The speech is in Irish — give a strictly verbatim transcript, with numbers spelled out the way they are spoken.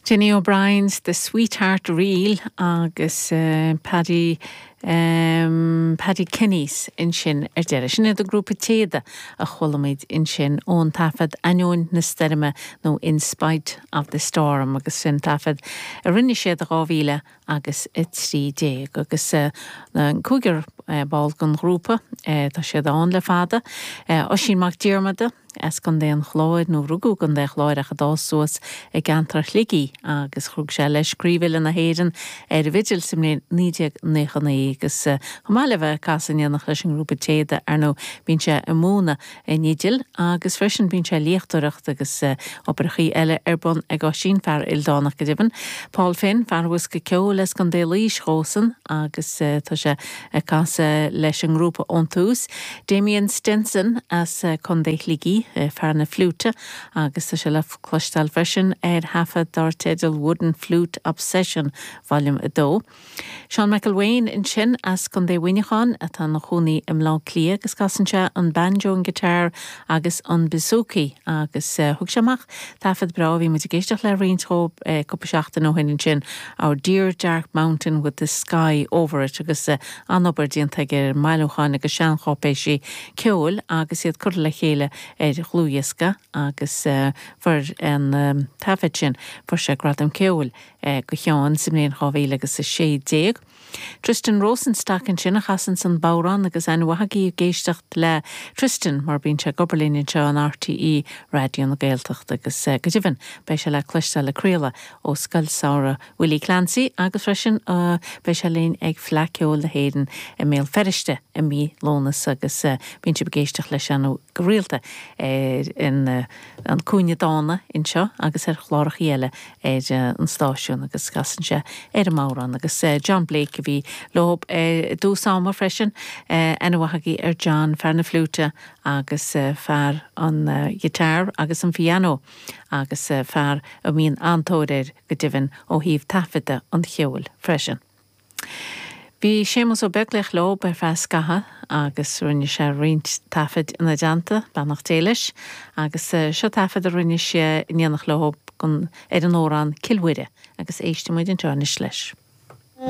Dinny O'Brien's The Sweetheart Reel agus uh, Paddy um, Paddy Kenny's ansin ar deireadh. Sin iad an grúpa Téada a chuala muid ansin ón taifead Ainneoin na Stoirme nó In Spite of the Storm agus sin taifead a rinne siad dhá mhíle agus a trí déag agus uh, cúigear uh, ball den ghrúpa uh, tá siad ann le fada. Uh, Oisín Mac Diarmada as Contae an Chláir nó rugadh i gContae an Chláir ach a d'fhás suas i gceantar Shligigh agus chruthaigh sé leis Craobh Uile na hÉireann ar bhfidil sa mbliain naoi déag nócha naoi agus chomh maith le bheith ag casadh in éineacht leis an ngrúpa Téada ar ndóigh bíonn sé ag múineadh in Oiriall agus freisin bíonn sé léachtóireacht agus oibreacha eile ar bun ag Oisín fear ildánach go deimhin. Paul Finn fear bosca ceoil as Contae Laoise dósan agus tá sé ag casadh leis an ngrúpa ón tús. Damien Stenson as Contae Shligigh fear na fliúite agus tá sé le cloisteáil freisin ar thaifead dar teideal Wooden Flute Obsession Volume a dó. Seán McElwain ansin as Contae Mhuineacháin atá ina chónaí i mBleá Cliath agus casann sé an banjo an guitar agus an bouzouki agus uh, thug sé amach taifead breá bhí muid ag éisteacht le roinnt dhó uh, cúpla seachtain ó shin ansin Our Dear Dark Mountain with the Sky Over It agus uh, an-obair déanta aige ar bhailiúcháin agus seancháipéisí ceoil agus iad curtha le chéile ar dhlúthdhiosca agus uh, fuair an um, taifead sin fuair sé gradam ceoil uh, do Sheán sa mbliain dhá mhíle agus a sé déag. Tristan Rosenstock ansin a chasann an bodhrán agus an bhhaí géisteacht le Tristan mar bíonn sé ag obair linn anseo in RTÉ Raidió na Gaeltachta agus uh, go deimhin beidh sé le cloisteáil ag craoladh ó Scoil Samhraidh Willie Clancy agus freisin uh, beidh sé linn ag Fleadh Cheoil na hÉireann i mBéal Feirste i mí Lúnasa agus uh, bíonn sé ag éisteacht leis an go rialta ar in uh, an Cúinne Dána anseo agus ar chláracha eile ar uh, an stáisiún agus casann sé ar an mbodhrán agus uh, John Blake a bhí leo i dtús ama freisin aithne mhaith agaibh ar John fear na fliúite agus fear an guitar agus an piano agus fear a mbíonn an-tóir air go deimhin ó thaobh taifeadta an cheoil freisin. Bhí Séamus Ó Beaglaoich leo ar feadh scatha agus rinne sé roinnt taifead ina dteannta beannacht Dé leis agus seo taifead a rinne sé in éineacht leo ar an amhrán Cill Mhuire agus éistfidh muid anseo anois leis.